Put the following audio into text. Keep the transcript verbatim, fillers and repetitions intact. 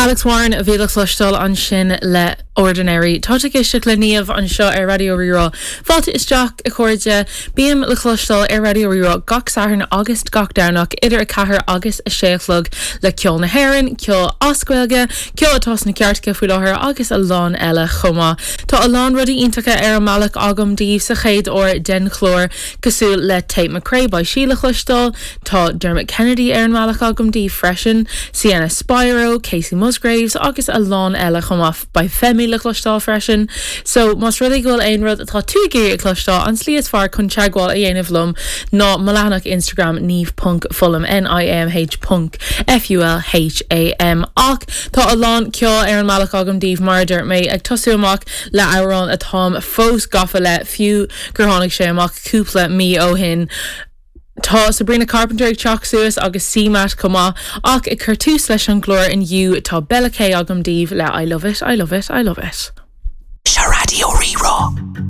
Alex Warren a bhí le cloisteáil ansin le Ordinary. Tá ag éisteacht le Niamh anseo ar Raidió Rí-Rá. Fáilte isteach a chairde bím le cloisteáil ar Raidió Rí-Rá gach Satharn agus gach Domhnach idir a ceathair agus a sé a chlog le ceol na hÉireann, ceol as Gaeilge, ceol atá sna cairteacha faoi láthair agus a lán eile chomh maith. Tá a lán rudaí iontacha ar an mbealach agam daoibh sa chéad uair den chlár cosúil le Tate McRae beidh sí le cloisteáil, Tá Dermot Kennedy ar an mbealach agam daoibh freisin, Sienna Spiro, Kacey Musgraves agus a lán eile chomh maith beidh Femi le cloisteáil freisin. So más rud é go bhfuil aon rud atá tú ag iarraidh a chloisteáil an tslí is fearr chun teagmháil a dhéanamh liom ná mo leathanach Instagram Niamh ponc Fulham NIAMH ponc FULHAM ach tá a lán ceol ar an mbealach agam daoibh mar a dúirt mé ag tosú amach le amhrán atáim fós gafa le fiú gur tháinig sé amach cúpla mí ó shin. Tá Sabrina Carpenter ag teacht suas agus CMAT chomh maith ach ag cur tús leis an gclár inniu tá Bella K agam daoibh le I love it, I love it, I love it. Seo Raidió Rí-Rá.